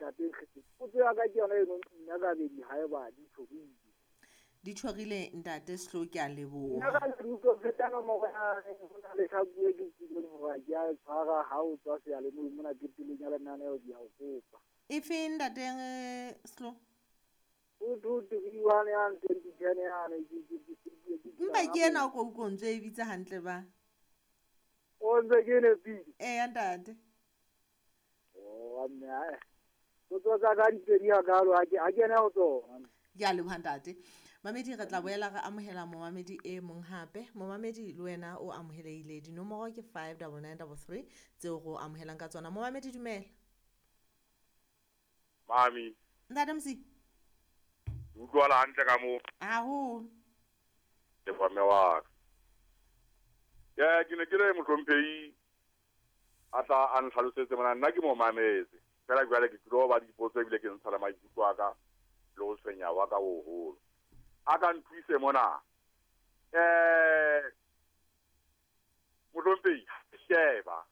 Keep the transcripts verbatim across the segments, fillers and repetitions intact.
ntate Nkgetse. Potso ya ka ke yona eno nna ka bedi haeba di tjhorile. Di tjhorile ntate Sehloho, ke a leboha. Nna ka le utlwa feta nomoro ya ho na le tlhaku e ke utlwileng hore ke a e tshwara ha o tswa seyalemoyeng mona ke pelong ya lenaneo ke a o kopa. E feng ntate Sehloho? Two two three one yane twenty ten yane ke ke ke ke Mpa ke ena o ko utlwa o ntso e bitsa hantle ba. O ntse ke nepile. Eya ntate. Oh mme ae. Potso tsa ka di pedi hakalo ha ke ha ke ena ho tsona. Ke a leboha ntate. Mamedi re tla boela re amohela momamedi e mong hape. Momamedi le wena o amohelehile. Dinomoro ke five double nine double three tseo re o amohelang ka tsona. Momamedi dumela. Mami. Ntate Msi. Utlwala hantle ka moo. Haholo. Leboha mme wa ka. Ke ke ne ke re mohlomphehi a tla a ntlhalosetse mona, nna ke mo mametse. Fela jwale ke tlilo ba dipotso ebile ke ntsha le maikutlo a ka le ho tshwenya wa ka boholo. A ka nthuse mona. Eh mohlomphehi, sheba.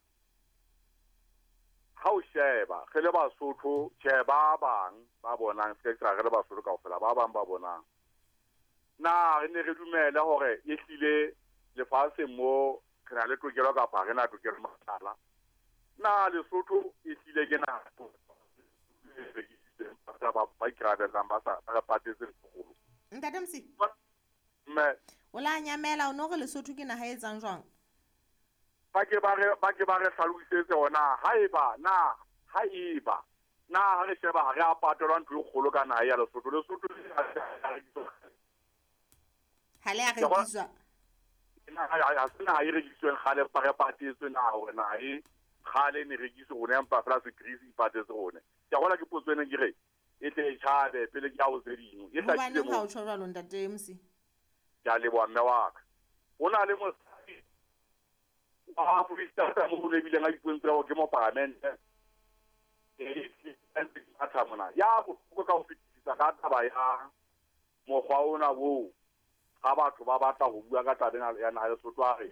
Ha o sheba, re le Basotho, tjhe ba bang ba bonang, se ke re le Basotho kaofela, ba bang ba bonang. Na re ne re dumele hore ehlile lefatsheng mo re na le tokelo kapa re na tokelo mahala. Na Lesotho ehlile ke naha ba ba ikarabellang ba sa ba patetse sekolo. Ntate Msi. Mme. O la nyamela o no re Lesotho ke naha e etsang jwang? Ba ke ba re ba ke ba re hlalosetse hona haeba na haeba na ha re sheba ha re a patelwa ntho e kgolo ka naha ya Lesotho. Lesotho ha le a rekiswa. Na ha se naha e rekisweng kgale ba re patetswe na hore naha e kgale ne rekiswe rona empa fela se Greece e patetse rona. Ke a bona ke potso ena ke re e tle e tjhabe pele ke ya ho tse ding. E hlakile Hobaneng ha o tjho jwalo ntate Msi? Ke a leboha mme wa ka. Ho na le mosadi wa Afrika mo le bileng a ipontsha hore ke mopalamente. E mona. Ya bohloko ka ho fetisisa ka taba ya mokgwa ona oo ha batho ba batla ho bua ka taba ena ya naha ya Lesotho a re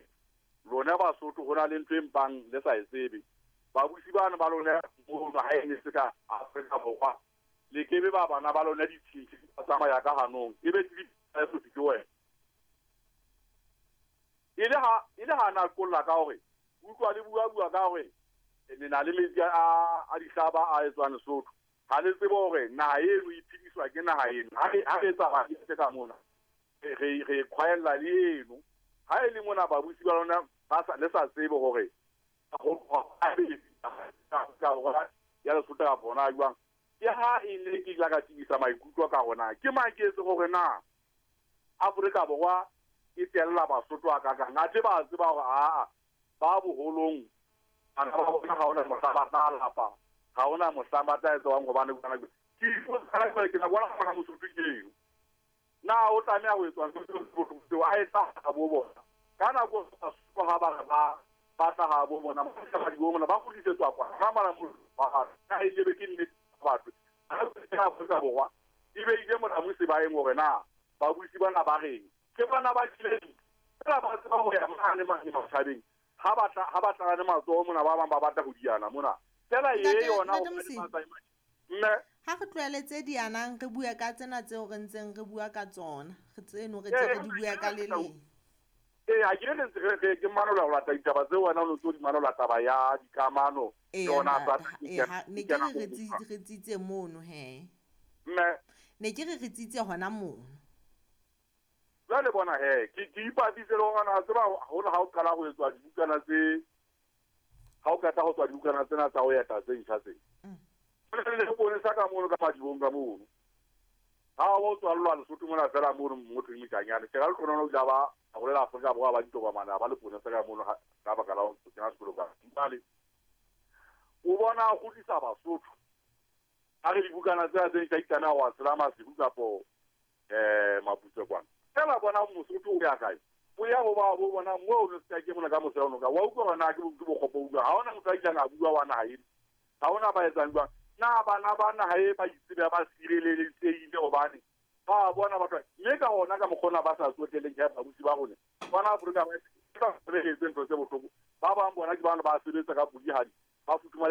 lona Basotho ho na le ntho e mpang le sa e tsebe. Babusi bana ba lona mono ha e ne se ka Afrika Borwa le kebe ba bana ba lona ditshintshi ba tsamaya ka hanong e be Lesotho ke wena. E le ha e le ha na kolla ka hore utlwa le bua bua ka hore le na le metsi a a dihlaba a etswang Lesotho. Ha le tsebe hore naha eno e phediswa ke naha eno. Ha re ha re etsa ba se ka mona re re khwaella le eno. Ha e le mona babusi ba lona ba sa le sa tsebe hore ya Lesotho ka bona jwang. Ke ha e le ke la ka tibisa maikutlo ka hona ke maketse hore na Afrika Borwa e tella Basotho a ka kang. Athe ba tseba hore aa ba boholong bana ba bona ha hona mohla ba tla lapa, ha hona mohla ba tla etswang hobane ke ipotsa ke na bona hona Mosotho ke eng. Na o tlameha ho etswa ntho tseo a etsa ha bo bona. Ka nako Basotho ha ba re ba ba tla ha bo bona ba di bona ba kgutlisetswa kwa. Ha mara ba ha e lebe ke nnete batho. Ha ke Afrika Borwa e be ile mona mo sebaeng hore na babusi bana ba reng. Ke bana ba tjhelete. Fela ba tseba ho ya mane mane matjhabeng. Ha ba tla ha ba tla le matsoho mona ba bang ba batla ho diana mona. Fela e yona ho mme ha re tlohele tse dianang re bua ka tsena tseo re ntseng re bua ka tsona. Re tseno re tse re di bua ka le leng. Eh ha ke re ntse re ke manola ho lata ditaba tseo wena o ntso di manola taba ya dikamano tsona tsa ne ke re re tsitse mono he. Mme ne ke re re tsitse hona mono. Jwale bona he ke ke ipatise le hore na tseba hona ha o qala ho etswa dibukana tse ha o qeta ho tswa dibukana tsena tsa ho eta tse ntjha tse. Le bone sa ka mono ka madibong ka mono. Ha o tswallwa Lesotho mona fela mono motho Mokanyane. Ke ra le tsona o ba a holela Afrika Borwa ba ditokomane ba le pone sa ka mono ka baka la ho kena sekolo ka. Jwale o bona ho kgutlisa Basotho. Ha re dibukana tsena tse ntjha di tlameha ho tshela Maseru kapo eh Maputsoe kwana. Fela bona Mosotho o ya kae? O ya ho ba bo bona moo le se ke mona ka mose ono ka. Wa utlwa hore na ke bokgopo utlwa. Ha hona motho a ileng a bua wa naha eno. Ha hona ba etsang jwang. Na bana ba naha e ba itsebe ba sireletsehile hobane ba bona batho mme ka hona ka mokgona ba sa tsoteleng ke babusi ba rona. Bona Afrika ba ba sebetse ntho tse bohloko. Ba bang bona ke bana ba sebetsa ka pudihadi ba futhumale